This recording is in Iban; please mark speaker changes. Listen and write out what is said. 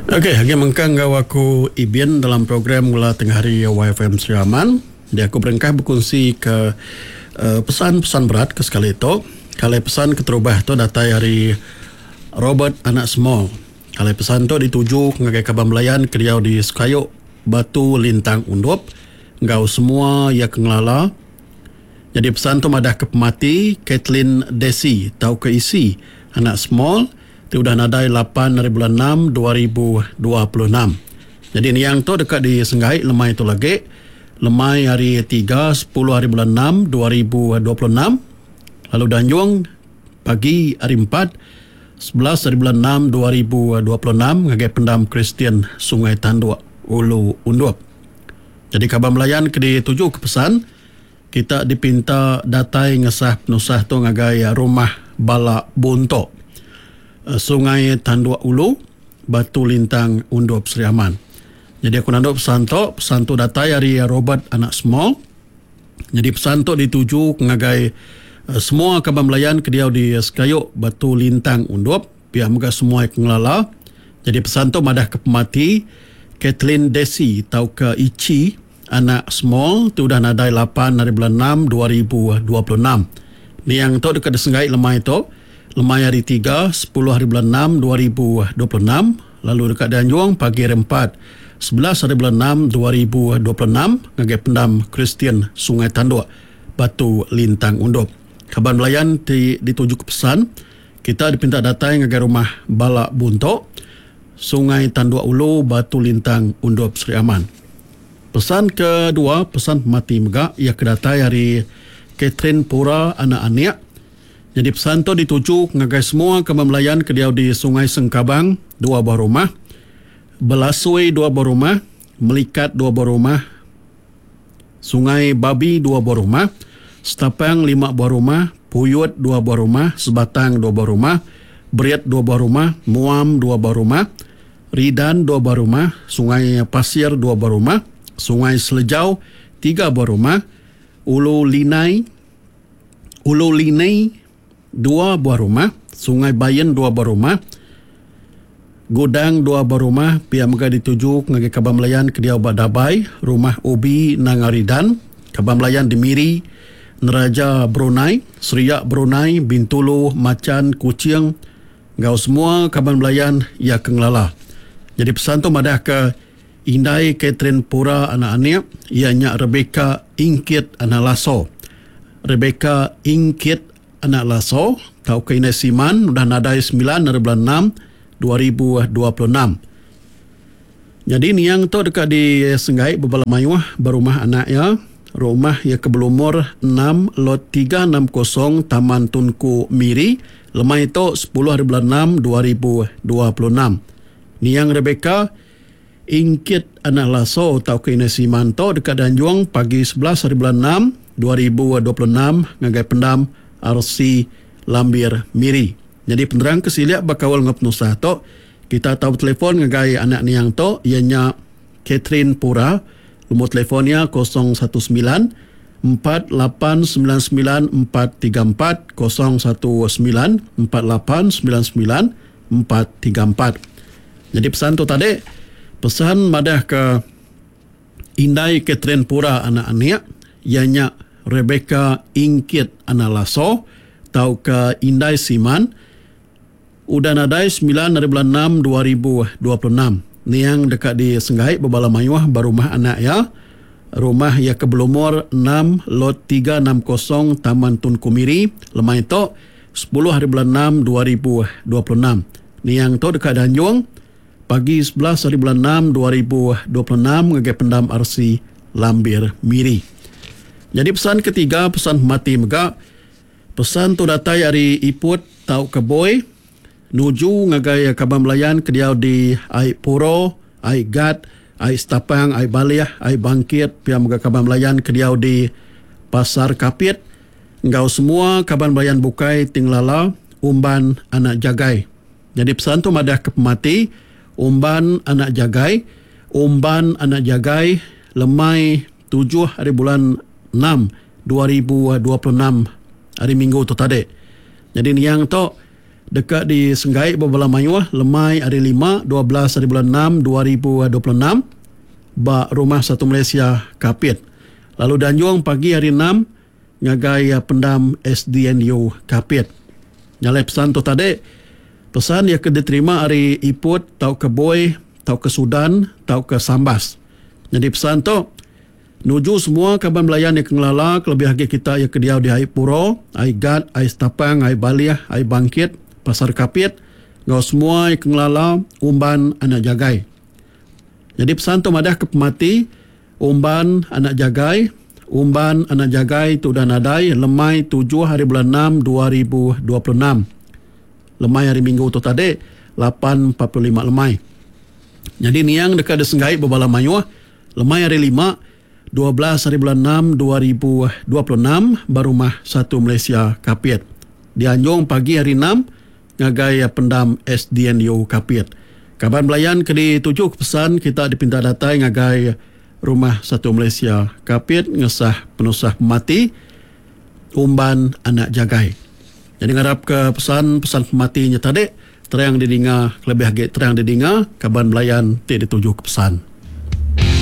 Speaker 1: Ok agi mengkang enggau aku Ibin dalam program Ngela Tengah Hari YFM Sri Aman. Dia aku berengkah bekunsi ke pesan-pesan berat ke sekali tu. Kalai pesan keterubah tu datai ari Robert Anak Small. Kalai pesan tu dituju ngagai kaban belayan ke diau di Sekayu Batu Lintang Undup enggau semua iya ke ngelala. Nyadi pesan tu madah ke pemati Kathleen Desi tauka Isi Anak Small ti udah nadai lapan ari bulan enam 2026. Nyadi niang tu deka disenggai lemai tu lagi lemai hari tiga sepuluh ari bulan enam 2026 lalu dianjung pagi hari empat 11 ari bulan enam 2026 ngagai Pendam Kristian Sungai Tanduk Ulu Undup. Nyadi kaban belayan ke dituju ke pesan kita dipinta datai ngesah penusah tu ngagai Rumah Bala Buntok, Sungai Tanduk Ulu, Batu Lintang Undup Sri Aman. Nyadi aku nandu pesan tu, pesan tu datai ari Robert anak Small. Nyadi pesan tu dituju ngagai semua kaban belayan ke diau di Sekayu Batu Lintang Undup. Pia mega semua ke ngelala. Nyadi pesan tu madah ke pemati Kathleen Desi tauka Ichi anak Small ti udah nadai lapan ari bulan enam 2026. Niang tu deka disenggai lemai tu, lemai hari tiga sepuluh ari bulan enam 2026 lalu deka dianjung pagi hari empat 11 ari bulan enam 2026 ngagai Pendam Kristian Sungai Tanduk, Batu Lintang Undup. Kaban belayan ti ditujuka pesan. Kita dipinta datai ngagai Rumah Bala Buntok, Sungai Tanduk Ulu, Batu Lintang, Undup Sri Aman. Pesan kedua, pesan pemati mega iya ke datai ari Catherine Pura anak Anik. Nyadi pesan tu dituju ngagai semua kaban belayan ke diau di Sungai Sengkabang, dua buah rumah, Belasui dua buah rumah, Melikat dua buah rumah, Sungai Babi dua buah rumah, Setapang lima buah rumah, Puyut dua buah rumah, Sebatang dua buah rumah, Berit dua buah rumah, Muam dua buah rumah, Ridan dua buah rumah, Sungai Pasir dua buah rumah, Sungai Selejau tiga buah rumah, Ulu Linai Ulu Linei dua buah rumah, Sungai Bain dua buah rumah, Gudang dua buah rumah, pia mega dituju ngagai kaban belayan ke diau ba Dabai, Rumah Ubi Nanga Ridan, kaban belayan di Miri, Neraja Brunei, Seriak Brunei, Bintulu, Machan, Kuching enggau semua kaban belayan iya ke ngelala. Nyadi pesan tu madahka indai Catherine Pura anak Anik iya nya Rebecca Ingkit anak Laso. Rebecca Ingkit anak Laso tauka indai Siman udah nadai semilan ari bulan enam 2026. Nyadi niang tu deka disenggai bebala mayuh ba rumah anak iya, rumah iya ke belumur enam lot 360 Taman Tunku Miri lemai tu sepuluh ari bulan enam 2026. Niang Rebecca Ingkit anak Laso tauka Indai Siman tu deka dianjung pagi 11 hari bulan enam 2026 ngagai Pendam RC Lambir Miri. Nyadi penerang ke silik bekaul enggau penusah tu, kita tau betelefon ngagai anak niang tu iya nya Catherine Pura, lumur telefon iya 019 4899 434 019 4899 434. Nyadi pesan tu tadi pesan madah ke indai Catherine Pura anak Anik iya nya Rebecca Ingkit anak Laso tauka indai Siman udah nadai semilan ari bulan enam 2026. Niang deka disenggai bebala mayuh ba rumah anak iya. Rumah iya ke belumur enam lot 360 Taman Tunku Miri lemai tu 10 hari bulan enam 2026. Niang tu deka dianjung pagi 11 hari bulan enam 2026 ngagai Pendam RC Lambir Miri. Nyadi pesan ketiga pesan pemati mega pesan tu datai ari Iput tauka Boy nuju ngagai kaban belayan ke diau di Ai Puro, Ai Gat, Ai Setapang, Ai Balih, Ai Bangkit pia mega kaban belayan ke diau di Pasar Kapit enggau semua kaban belayan bukai ti ngelala Umban anak Jagai. Nyadi pesan tu madah ke pemati Umban anak Jagai, Umban anak Jagai lemai tujuh hari bulan enam 2026 hari minggu tu tadi. Nyadi niang tu. deka disenggai ba bala mayuh lemai hari Lima, 12 haribulan enam 2026 ba Rumah Satu Malaysia, Kapit lalu dianjung pagi hari Enam ngagai pendam SDNU Kapit. Nya alai pesan tu tadi, pesan iya ke diterima ari Iput tauka Boi tauka Sudan tauka Sambas. Nyadi pesan tu nuju semua kaban belayan iya ke ngelala kelebih agi kita iya ke diau di Ai Puro, Ai Gat, Ai Setapang, Ai Balih, Ai Bangkit, Pasar Kapit enggau semua iya ke ngelala Umban Anak Jagai. Nyadi pesan tu madah ke pemati Umban Anak Jagai, Umban Anak Jagai tu udah nadai lemai tujuh hari bulan enam 2026. Lemai hari Minggu tu tadi 8.45 lemai. Nyadi niang deka disenggai bebala mayuh lemai hari Lima 12 hari bulan enam 2026 ba Rumah Satu Malaysia Kapit. Dianjung pagi hari Enam ngagai pendam SDNU Kapit. Kaban belayan ke dituju ke pesan kita dipinta datai ngagai Rumah Satu Malaysia Kapit ngesah penusah pemati Umban Anak Jagai. Nyadi ngarap ke pesan pesan pemati nya tadi terang didinga kelebih agi terang didinga kaban belayan ti dituju ke pesan.